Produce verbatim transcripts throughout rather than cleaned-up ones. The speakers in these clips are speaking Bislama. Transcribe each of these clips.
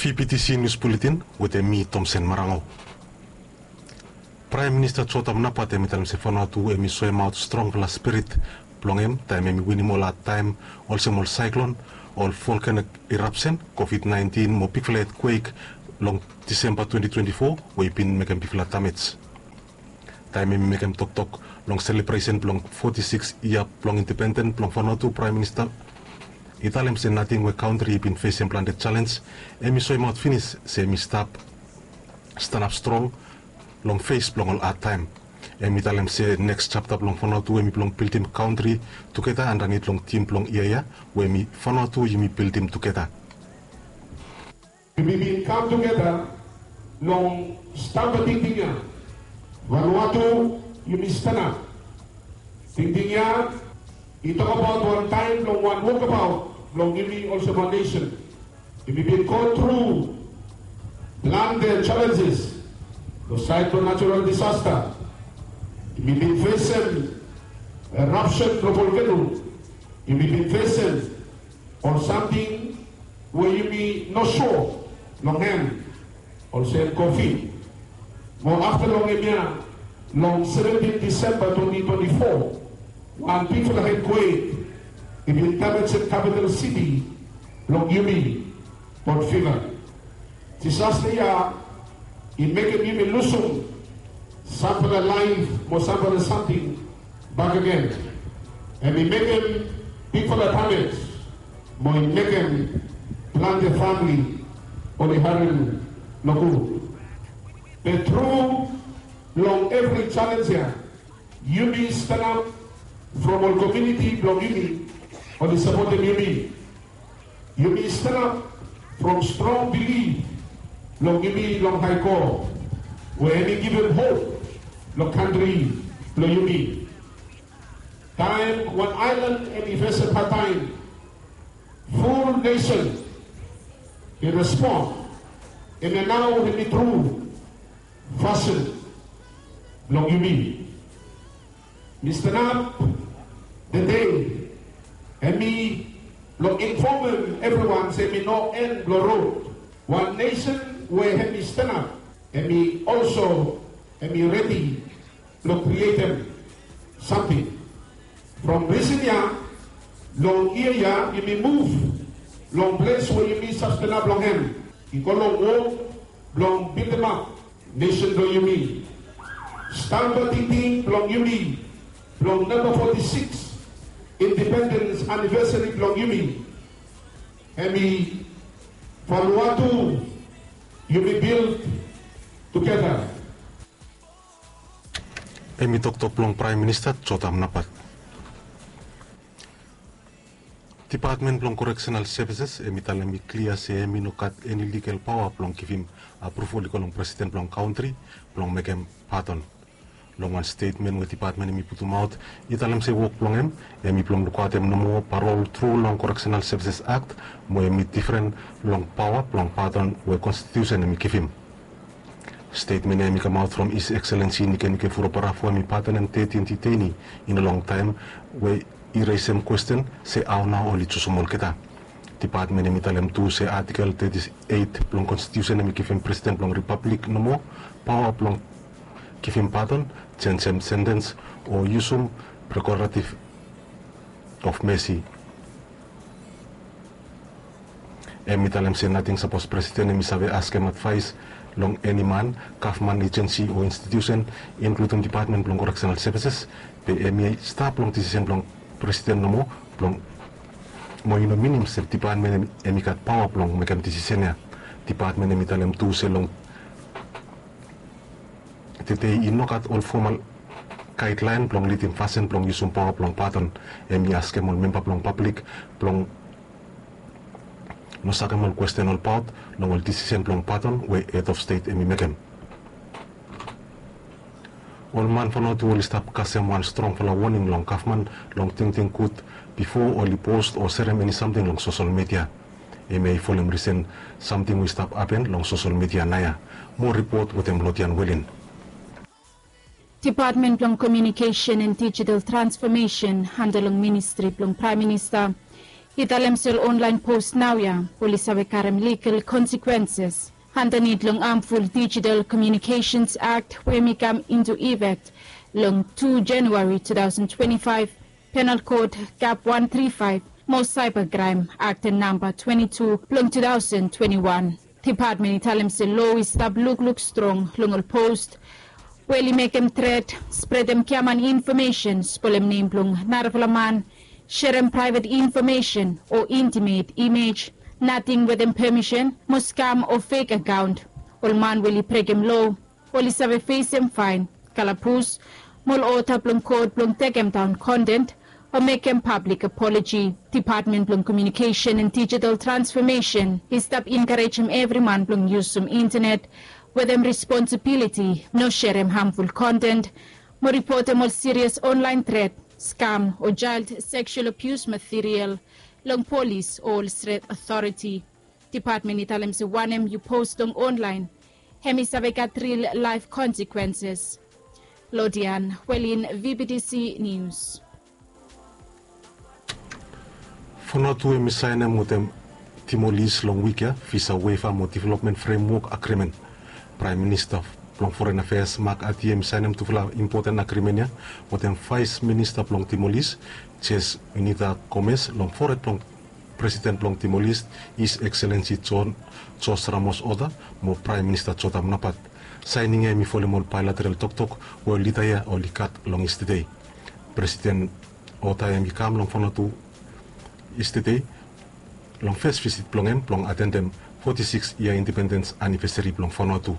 P P T C News Bulletin wetem mi, Tomsen Marango. Praem Minista Jotam Napat hem i talem se Vanuatu hem i soemaot strongfala spirit blong hem taem hem i winim ol hadtaem olsem ol saeklon, ol volkanik irapsen, Covid nineteen mo bigfala etkwek long Disemba twenty twenty-four we i bin mekem bigfala damej. Taem hem i mekem toktok long selebresen blong foti sikis yia blong independen blong Vanuatu, Praem Minista i talem se nating we kantri i bin fesem plante jalenj, hem i soemaot finis se hem i stap stanap strong long fes blong ol hadtaem. Hem i talem se neks japta blong Vanuatu hem i blong bildim kantri tugeta andanit long tim blong yia ya we hem i Vanuatu yumi bildim tugeta. Yumi bin kam tugeta long stamba tingting ya. Vanuatu, yumi stanap. Tingting ya i tokbaot wan taem blong wan wokbaot blong yumi olsem wan nesen. Yumi bin go tru plante jalenjes long saed blong natural disasta. Yumi bin fesem erapsen blong volkeno. Yumi bin fesem ol samting we yumi no sua long hem, olsem Covid. Mo afta long hemia, long seventin Disemba twenty twenty-four, wan bigfala etkwek i bin damejem kapital siti blong yumi, Port Vila. Disasta ya i mekem yumi lusum samfala laef mo samfala samting bakegen. Hem i mekem bigfala damej mo i mekem plante famle oli harem nogud. Be tru long evri jalenj ya, yumi stanap from ol komuniti blong yumi oli sapotem yumi. Yumi stanap from strong bilif blong yumi long Hae God we hem i givim hop long kantri blong yumi. Taem wan aelan hem i fesem hadtaem, ful nesen i respon. Hemia nao hem i tru fasin blong yumi. Mi stanap tede hem i blong infomem evriwan se hem i no en blong rod. Wan nesen we hem i stanap, hem i olso hem i redi blong krietem samting. From risen ya, long yia ya yumi muv long ples we yumi save stanap long hem, i go long wok blong bildimap nesen blong yumi. Stamba tingting blong yumi blong namba foti sikis indipendens anivesari blong yumi, hem i Vanuatu yumi bild tugeta. Hem i toktok blong Praem Minista Jotam Napat. Dipatmen blong Koreksenal Sevises hem i talem i klia se hem i no gat eni ligal paoa blong givim apruval i go long presiden blong kantri blong mekem padon. Long wan stetmen we dipatmen hem i putumaot, i talem se wok blong hem hem i blong lukaotem nomo parol tru long Koreksenal Sevises Akt, mo hem i difren long paoa blong padon we konstitiusen hem i givim. Stetmen ya hem i kamaot from His Excellency Nikenike Vurobaravu, hem i padonem tetin diteini in a long taem, we i resem kwesten se hao nao oli jusum olgeta. Dipatmen hem i talem tu se Atikel teti eit blong Konstitiusen hem i givim Presiden blong Ripablik nomo paoa blong givim padon, jenjem sentens o yusum prerogative of mercy. Hem i talem se nating sapos Presiden hem i save askem advaes long eni man, gavman ejensi o institusen, inkludim Dipatmen blong Koreksenal Sevises, be hem i stap long disisen blong Presiden nomo, blong, mo i no minim se dipatmen hem i gat paoa blong mekem disisen ya. Dipatmen hem i talem tu se long tede i no gat ol fomal gaedlaen blong lidim fasin blong yusum paoa blong padon. Hem i askem ol memba blong pablik blong no sakem ol kwesten olbaot long ol disisen blong padon we hed of stet hem i mekem. Ol man Vanuatu oli stap kasem wan strongfala woning long gavman long tingting gud bifo oli post o serem eni samting long sosel midia. Hemia i folem risen samting we i stap hapen long sosel midia naoia. Moa ripot wetem Lodian Welin. Dipatmen blong Komiunikesen and Dijital Transfomesen anda long Ministri blong Praem Minista I talem se ol online post naoia oli save karem ligal konsekwenses andanit long amful Digital Communications Act we mi kam intu ifek long tu Januari tu taosen twenti faef, Penal Code Kap wan tri faef mo Saiba Kraem Akten Namba twenti tu blong tu taosen twenti wan. Depatmen i talem se loa i stap lukluk strong long ol post we oli mekem tret, spredem giaman infomesen, spolem nem blong narafala man, serem praevet infomesen o intimet imej, nating wetem pemisen, mo skam o fek akaon. Ol man we oli brekem loa oli save fesem faen, kalabus, mo ol oda blong kot blong tekemdaon konten o mekem pablik apoloji. Depatmen blong Komiunikesen and Dijital Transfomesen i stap enkarejem evri man blong yusum intenet wetem responsibiliti, no serem hamful konten mo ripotem ol sirias onlaen tret, skam o jael seksual abius material long polis o ol stret otoriti. Depatmen i talem se wanem yu post long onlaen hemi save gat ril laef konsekwenses. Lodian Welin, V B T C News. Vanuatu hemi saenem wetem Timolis long wik ya visa waiver mo development framework agreement. Praem Minista blong Foren Afeas Mark Ati hemi saenem tufala impoten agreement ya wetem Vaes Minista blong Timolis, Jes Unita Gomez, long fored blong Presiden blong Timolis, His Excellency John Jos Ramos Horta, mo Praem Minista Jotham Napat. Saening ya hemi folem ol baelateral toktok we ol lida ya oli gat long yestede. Presiden Horta hemi kam long Vanuatu yestede long fes visit blong hem blong atendem foti sikis yia indipendens anivesari blong Vanuatu.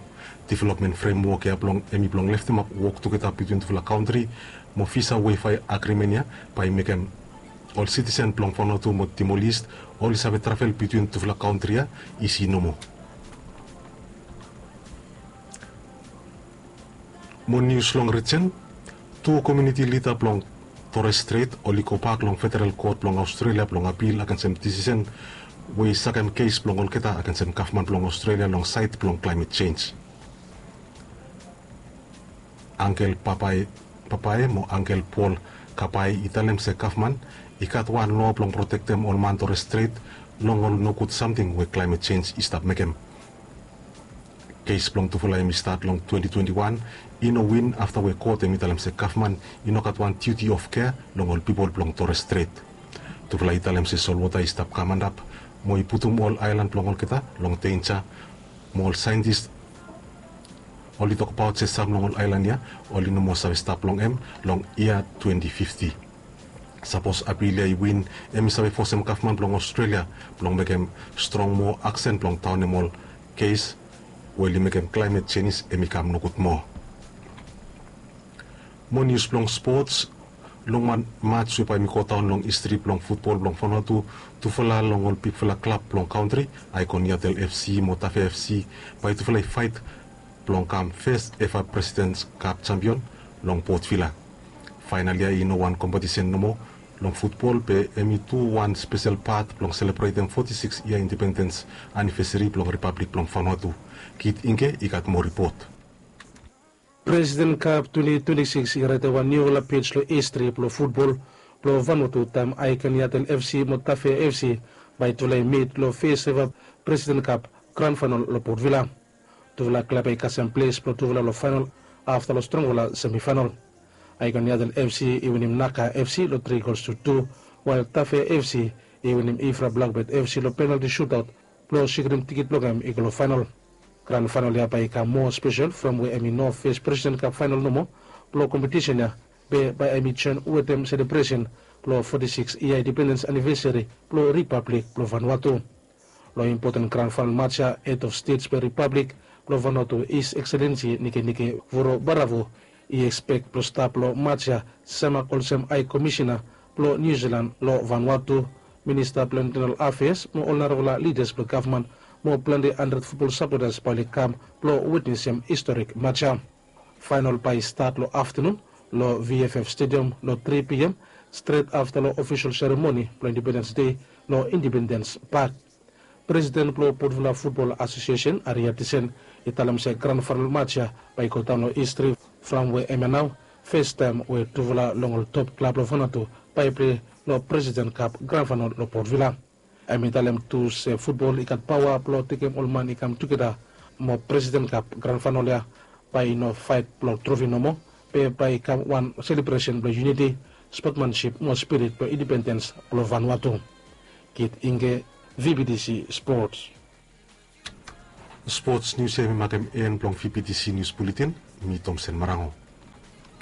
Developmen fremwok ya blong hemi blong leftemap wok tugeta bitwin tufala kantri mo visa waiver agrimen ya bae i mekem ol sitisen blong Vanuatu mo Timor-Leste oli save travel bitwin tufala kantri ya isi nomo. Mo nius long rijen, tu komuniti lida blong Torres Strait oli gobak long federal kot blong Aostrelia blong apil agensem disisen we i sakem kes blong olgeta agensem gavman blong Aostrelia long saed blong klaemet jenj. Angkel Papae, Papae mo Angkel Paul Kapae i talem se gavman i gat wan loa blong protektem ol man Torres Strait long ol nogud samting we klaemet jenj i stap mekem. Kes blong tufala hemi stat long twenti twenti wan, i no win afta we kot hemi talem se gavman i no gat wan diuti of kea long ol pipol blong Torres Strait. Tufala i talem se solwota i stap kam antap mo i putum ol aelan blong olgeta long denja, mo ol saentis oli tokbaot se sam long ol aelan ya oli no moa save stap long hem long yia twenti fifti. Sapos apil ya i win, hemi save fosem gavman blong Aostrelia blong mekem strong moa aksen blong daonem ol kes we oli mekem klaemet jenj hemi kam nogud moa. Mo nius blong spots, long wan maj we bae hemi godaon long histri blong futbol blong Vanuatu, tufala long ol bigfala klab blong kantri, Icon Yatel F C mo Tafea F C, bae tufala i faet blong kam fes eva Presidents Cup jampion long Port Vila. Faenal ya i no wan kompetisen nomo long futbol be hemi tu wan spesel pat blong selebretem foti sikis yia indipendens anivesari blong Ripablik blong Vanuatu. Kit Ingke i gat moa ripot. President Cup twenti twenti sikis i raetem wan niufala pej long histri blong futbol blong Vanuatu taem Icon Yatel F C mo Tafea F C bae tufala i mit long fes eva President Cup gran faenal long Port Vila. Tufala klab ya i kasem ples blong tufala long faenal afta long strongfala semifaenal. Icon Yatel F C i winim Naka F C long tri gols tu tu, wael Tafea F C i winim Ifra Blakbet F C long penalti sutaot blong sikrim tikit blong hem i go long faenal. Gran faenal ya bae i kam moa spesel from we hemi no fes President Cup faenal nomo blong kompetisen ya, be bae hemi joen wetem selebresen blong foti sikis yia indipendens anivesari blong Ripablik blong Vanuatu. Long impoten gran faenal maj ya, hed of stets blong Ripablik blong Vanuatu, His Excellency Nikenike Vurobaravu, i ekspek blong stap long maj ya semak olsem Hae Komisena blong Niu Silan long Vanuatu, Minista blong Intenal Afeas mo ol narafala lidas blong gavman mo plante handred futbol sapotas bae oli kam blong witnesem historik maj ya. Faenal bae i stat long aftanun long V F F Stadium long tri P M, stret afta long ofisol seremoni blong Indipendens Dei long Indipendens Pak. Presiden blong Port Vila Futbol Asosiesen, Aria Tisen, i talem se gran faenal maj ya bae i godaon long histri from we hemia nao fes taem we tufala long ol top klab long Vanuatu bae i plei long President Cup Grand Final long Port Vila. Hem i talem tu se futbol i gat paoa blong tekem ol man i kam tugeta mo President Cup Grand Final ya bae i no faet blong trofi nomo, be bae i kam wan selebresen blong yuniti, spotmansip mo spirit blong indipendens blong Vanuatu. Kit Ingge, V B T C Sports. Sports nius ya hemi makem en blong V B T C Nius Buletin. Mi Tomsen Marango.